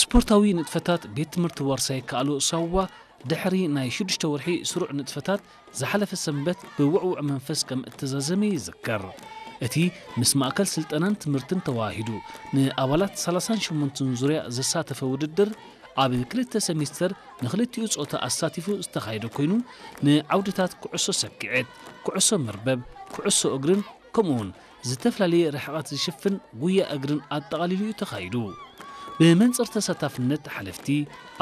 ስፖርታዊ ንጥፈታት ቤት ትምህርቲ ዋርሳይ ከኣሎ ሳዋ ድሕሪ ናይ ሽዱሽተ ወርሒ ስሩዕ ንጥፈታት ዝሓለፈ ሰንበት ብውዕውዕ መንፈስ ከም እተዛዘመ ይዝከር። እቲ ምስ ማእከል ስልጠናን ትምህርትን ተዋሂዱ ንኣባላት ሰላሳን ሸሞንተን ዙርያ ዘሳተፈ ውድድር ኣብ ክልተ ሰሚስተር ንክልቲኡ ጾታ ኣሳቲፉ ዝተኻየደ ኮይኑ ንዓውድታት ኩዕሶ ሰኪዔት፣ ኩዕሶ መርበብ፣ ኩዕሶ እግርን ከምኡውን ዝተፈላለየ ርሕቐት ዝሽፍን ጉያ እግርን ኣጠቓሊሉ እዩ ተኻይዱ። ብመንጽር ተሳታፍነት ሓለፍቲ፣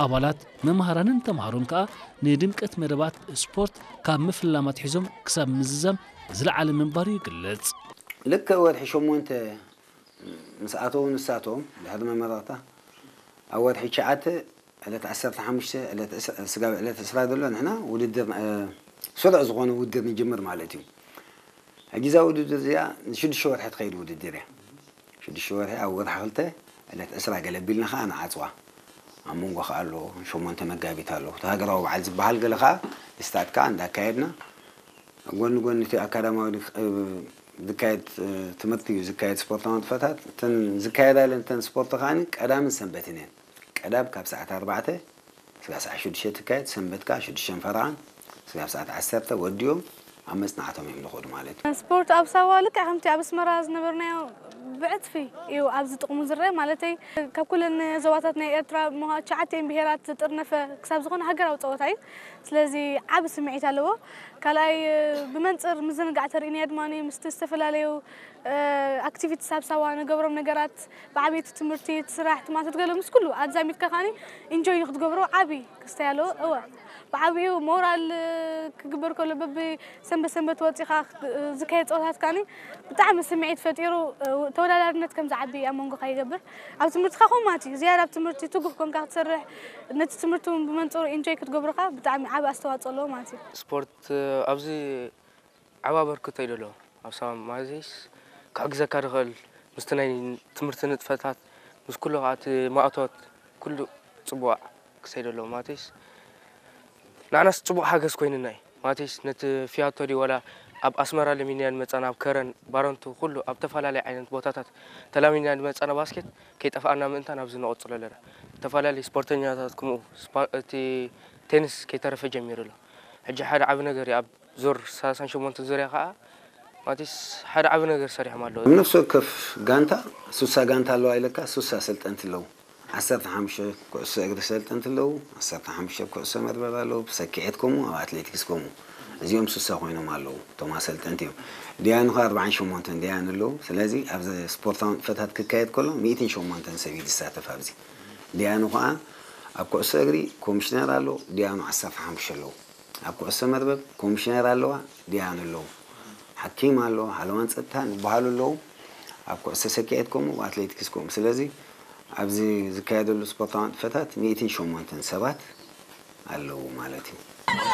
ኣባላት፣ መምሃራንን ተምሃሮን ከኣ ንድምቀት መደባት ስፖርት ካብ ምፍላማት ሒዞም ክሳብ ምዝዛም ዝለዓለ ምንባሩ ይግለጽ። ልክዕ ወርሒ ሸሞንተ ምስ ኣተዉ ንሳቶም ድሕሪ መመረቕታ ኣብ ወርሒ ትሽዓተ ዕለት ዓሰርተ ሓሙሽተ ዕለት ዕስ- ስጋብ ዕለት ዕስራ ዘሎ ንሕና ውድድር እ፣ ስሩዕ ዝኾነ ውድድር ንጅምር ማለት እዩ። ሕጂ እዛ ውድድር እዚኣ ንሽዱሽተ ወርሒ ትኸይድ ውድድር እያ። ሽዱሽተ ወርሒ ኣብ ወርሒ ክልተ ዕለት ዕስራ ገለ ቢልና ኸዓ ንዓፅዋ። ኣብ መንጎ ኸዓ ኣሎ ሸሞንተ መጋቢት ኣሎ እቲ ሃገራዊ በዓል ዝበሃል ገለ ኸዓ ስታትካ እንዳካየድና ጎኒ ጎኒ እቲ ኣካዳማዊ ዝካየድ ትምህርቲ እዩ ዝካየድ ስፖርታዊ ንጥፈታት እተን ዝካየዳ ኢለን እተን ስፖርት ከዓኒ ቀዳምን ሰንበትን እየን። ቀዳም ካብ ሰዓት ኣርባዕተ ስጋብ ሰዓት ሽዱሽተ ትካየድ፣ ሰንበት ከኣ ሽዱሽተን ፈረቓን ስጋብ ሰዓት ዓሰርተ ወዲኦም ኣብ መጽናዕቶም እዮም ዝኸዱ ማለት እዩ። ስፖርት ኣብ ሳዋ ልክዕ ከምቲ ኣብ ኣስመራ ዝነበርናዮ ብዕጽፊ እዩ ኣብዚ ጥቕሙ ዝረአ። ማለተይ ካብ ኩለን ዞባታት ናይ ኤርትራ ምዃ- ትሽዓተ እየን ብሄራት ዝጥርነፈ ክሳብ ዝኾነ ሃገራዊ ጸወታ እዩ። ስለዚ ዓቢ ስምዒት ኣለዎ። ካልኣይ ብመንጽር ምዝንጋዕ ተርእዩና ድማ ምስቲ ዝተፈላለዩ ኣክቲቪቲስ ኣብ ሳዋ ንገብሮም ነገራት ብዓብይቲ ትምህርቲ እቲ ስራሕ ትማትት ገለ ምስ ኩሉ ኣዛሚድካ ከዓኒ ኢንጆይ ንክትገብሮ ዓቢ ክስታይ ኣለዎ። እወ ብዓብኡ ሞራል ክግበር ከሎ በቢ ሰንበት ሰንበት ወፂኻ ዝካየድ ፀወታት ከዓኒ ብጣዕሚ ስምዒት ፈጢሩ ተወዳዳርነት ከም ዝዓቢ ኣብ መንጎኻ ይገብር። ኣብ ትምህርትኻ ከምኡ ማለት እዩ። ዝያዳ ኣብ ትምህርቲ ትጉህ ኮንካ ክትሰርሕ ነቲ ትምህርቲ እውን ብመንፅሩ ኢንጆይ ክትገብሮኻ ብጣዕሚ ዓቢ ኣስተዋፅኦ ኣለዎ ማለት እዩ። ስፖርት ኣብዚ ዓቢ ኣበርክቶ እዩ ዘለዎ ኣብ ሳዋ ማለትስ ክሕግዘካ ዝኽእል ምስቲ ናይ ትምህርቲ ንጥፈታት ምስ ኩሉ ከዓ እቲ ማእቶት ኩሉ ፅቡቅ ክሰይድ ኣለዎ ማለትስ ንዓናስ ፅቡቅ ሓገዝ ኮይንና እዩ ማለትስ ነቲ ፊያቶ ድዩ ወላ ኣብ ኣስመራ ለሚንና ንመፃና ኣብ ከረን ባረንቱ ኩሉ ኣብ ተፈላለየ ዓይነት ቦታታት ተላሚንና ንመፃና ባስኬት ከይጠፍኣና ምእንታን ኣብዚ ንቐፅሎ ኣለና ዝተፈላለዩ ስፖርተኛታት ከምኡ እቲ ቴንስ ከይተረፈ ጀሚሩ ኣሎ ሕጂ ሓደ ዓቢ ነገር እዩ ኣብ ዙር ሰላሳን ሸሞንተን ዙርያ ከዓ ማቲስ ሓደ ዓቢ ነገር ሰሪሖም ኣለዉ። ኣብ ነፍሲ ወከፍ ጋንታ ሱሳ ጋንታ ኣለዋ ኢለካ ሱሳ ሰልጠንቲ ኣለዉ። ዓሰርተ ሓሙሽተ ኩዕሶ እግሪ ሰልጠንቲ ኣለዉ፣ ዓሰርተ ሓሙሽተ ኩዕሶ መርበብ ኣለዉ፣ ብሰኪዔት ከምኡ ኣብ ኣትሌቲክስ ከምኡ። እዚኦም ሱሳ ኮይኖም ኣለዉ እቶም ኣሰልጠንቲ እዮም። ዲያኑ ከ ኣርባዓን ሸሞንተን ዲያኑ ኣለዉ። ስለዚ ኣብዚ ስፖርታዊ ንጥፈታት ክካየድ ከሎ ሚእትን ሸሞንተን ሰብ እዩ ዝሳተፍ ኣብዚ። ዲያኑ ከኣ ኣብ ኩዕሶ እግሪ ኮሚሽነር ኣሎ፣ ዲያኑ ዓሰርተ ሓሙሽተ ኣለዉ። ኣብ ኩዕሶ መርበብ ኮሚሽነር ኣለዋ፣ ዲያኑ ኣለዉ፣ ሓኪም ኣሎ፣ ሓለዋን ፀጥታን ይበሃሉ ኣለዉ። ኣብ ኩዕሶ ሰኪዔት ከምኡ፣ ኣብ ኣትሌቲክስ ከምኡ። ስለዚ ኣብዚ ዝካየደሉ ስፖርታዊ ንጥፈታት ሚእትን ሸሞንተን ሰባት ኣለዉ ማለት እዩ።